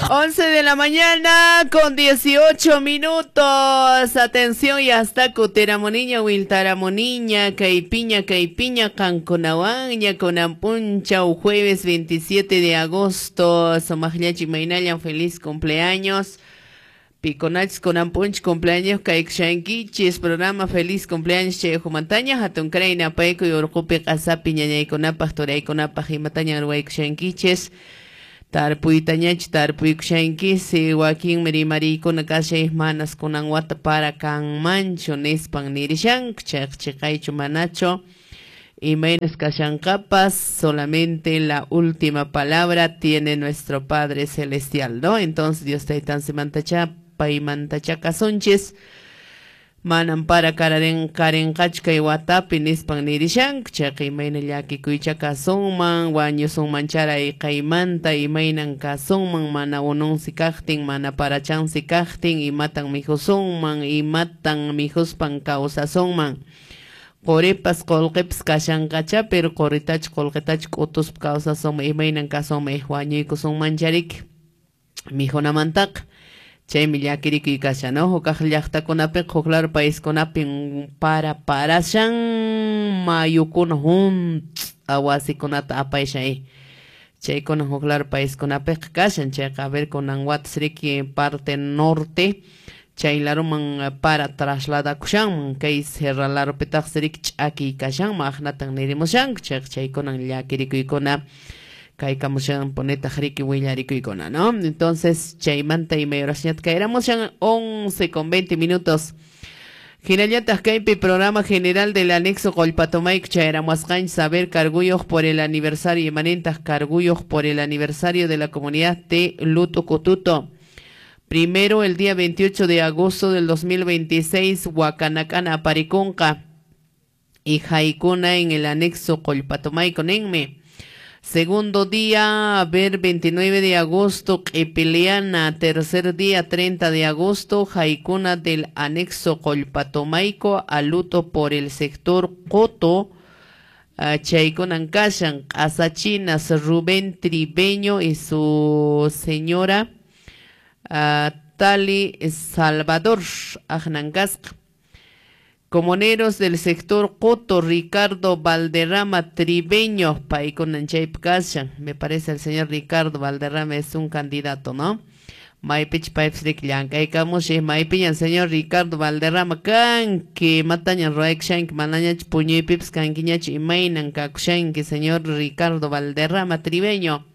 11 de la mañana con 18 minutos. Atención, ya está Cuteramoniña, Wiltaramoniña, Caipiña, Caipiña, Canconahuaña, Conampuncha, jueves 27 de agosto. Somajllachi Maynallan, feliz cumpleaños. Piconach Conampunch, cumpleaños, Kaikshankichis, programa feliz cumpleaños, Chejumantaña, Hatun Kraina, Paico y Urcupi, Qasapi, Ñañaykunapaj, Turaykunapaj, Imataña, Ruaykushankichis. Tarpuytañach tarpuykushanki wakin rimarikuna kashay manas kunan wata para kanmanchu nispan nirishanku chayqa chiqaychu manachu imaynas kashanqapas, solamente la última palabra tiene nuestro Padre Celestial, ¿no? Entonces Dios taytansimantacha paymantacha kasunchis manan para karenqachu kay watapi nispan nirishanku chayqa imayna llakikuycha kasunman wañusunman charay qaymanta imaynan kasunman mana ununsi kaqtin mana parachansi kaqtin imatan mijusunman imatan mijuspan kawsasunman quripas qullqipas kashanqacha pero quritachu qullqitachu k'utuspa kawsasunman imaynan kasunman wañuykusunman chariki mijunamantaqa. Chaymi llakirikuy kashan, ¿no? Hukaq llaqtakunapiqa huk lado paiskunapin para parashan mayukuna hunt'a wasikunata apayshan chaykuna huk lado paiskunapiqa kashan chayqa a ver kunan watas riki parte norte chay laruman para trasladakushanman kay sierra larupitaqsi riki ch'akiy kashanman aqnatan nirimushanku chayqa chaykunan llakirikuykuna kaykamushan ponetaq riki willarikuykuna, ¿no? Entonces, chaymanta imay horasñata kayramushan 11:20. Hinallataq kaypi programa general del anexo Qollpatomayku chayramuasqanchis saber carguyuq por el aniversario imanintaq carguyuq por el aniversario de la comunidad de Lutucututo. Primero, el día 28 de agosto del 2026, Huacanacana aparikunqa y haykuna en el anexo Qollpatomayku ninmi. Segundo día, a ver, 29 de agosto, Q'ipiliana. Tercer día, 30 de agosto, Jaicuna del anexo Qollpatomayco, a luto por el sector Coto, Chaykunan kashan, Asachinas, Rubén Tribeño y su señora Tali Salvador, Ajnancasca. Comuneros del sector Coto, Ricardo Valderrama Tribeño, paykunan chaypi kashan. Me parece el señor Ricardo Valderrama es un candidato, ¿no? Maypich paypis riki llank'aykamushi maypiñan señor Ricardo Valderrama kanki imatañan ruwaykushanki manañachu puñuypipas kankiñachu imaynan kakushanki señor Ricardo Valderrama Tribeño.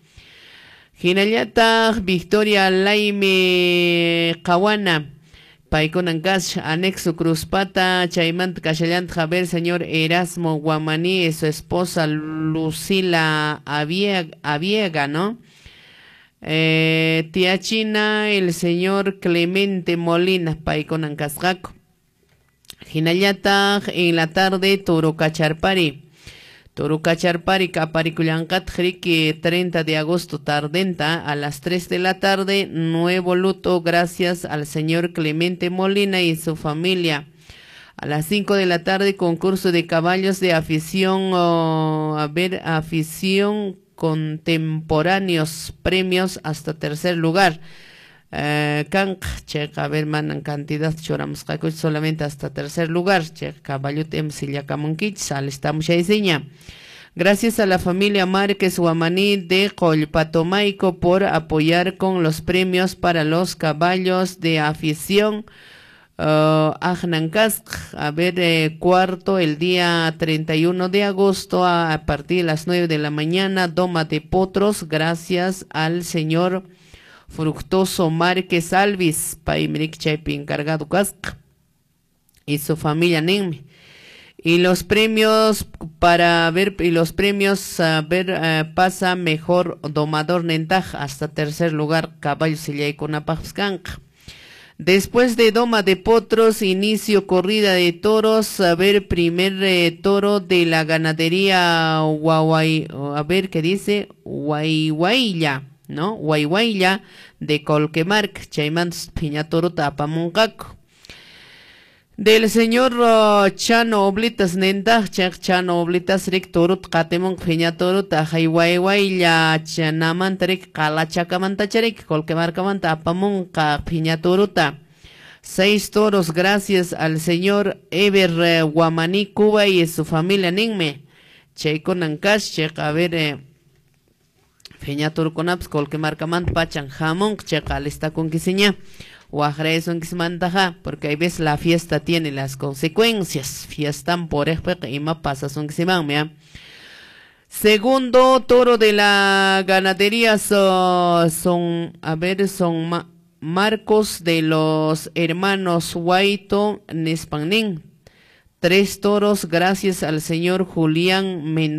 Hinallataq Victoria Laime Qawana. Paykunan kasha anexo Cruzpata, chaymanta kashallantaq a ver señor Erasmo Guamaní y su esposa Lucila Aviega, ¿no? Tía China, el señor Clemente Molina, paykunan kasqaku. Hinallataq en la tarde Turucacharpari. Turucacharpari kaparikullanqataq riki 30 de agosto tardenta a las 3 de la tarde, nuevo luto gracias al señor Clemente Molina y su familia. A las 5 de la tarde concurso de caballos de afición, a ver, afición contemporáneos, premios hasta tercer lugar. Kanq chayqa a ver manan cantidad churamusqakuchu solamente hasta tercer lugar chayqa caballuta ima sillakamunkichis alistamos chaysiña. Gracias a la familia Márquez Guamaní de Qollpatomayco por apoyar con los premios para los caballos de afición. Ajnancasq, a ver, cuarto, el día 31 de agosto a partir de las 9 de la mañana, doma de potros, gracias al señor Fructoso Márquez Alvis, paymirik chaypi encargado kasqa y su familia ninmi. Y los premios para ver, y los premios a ver, pasa mejor domador nentaj hasta tercer lugar caballo sillaykunapaqpas kanqa. Después de doma de potros, inicio corrida de toros, a ver, primer toro de la ganadería Guaguay, a ver qué dice, Guayguaylla, ¿no? Guayguaylla de Colquemarca, chaymantas phiña torota apamunqaku. Del señor Chano Oblitas nintaq, chayqa Chano Oblitas rik turuta qatimunqa phiña turuta hay waywaylla chanamanta rik qalachakamanta rik Colquemarcamanta apamunqa phiña turuta. 6 toros gracias al señor Ever Guamaní Cuba y su familia ninmi. Chaykunan kash chayqa a ver phiña turukunapas Colquemarcamanta pachan hamunqa chayqa alistakunkisiña. Waqraysunkismantaqa porque hay veces la fiesta tiene las consecuencias. Fiestan puriqpiqa ima pasasunkisimanmi. Segundo toro de la ganadería son, a ver, son Marcos de los hermanos Huaito Nespanín. 3 toros gracias al señor Julián Mendoza.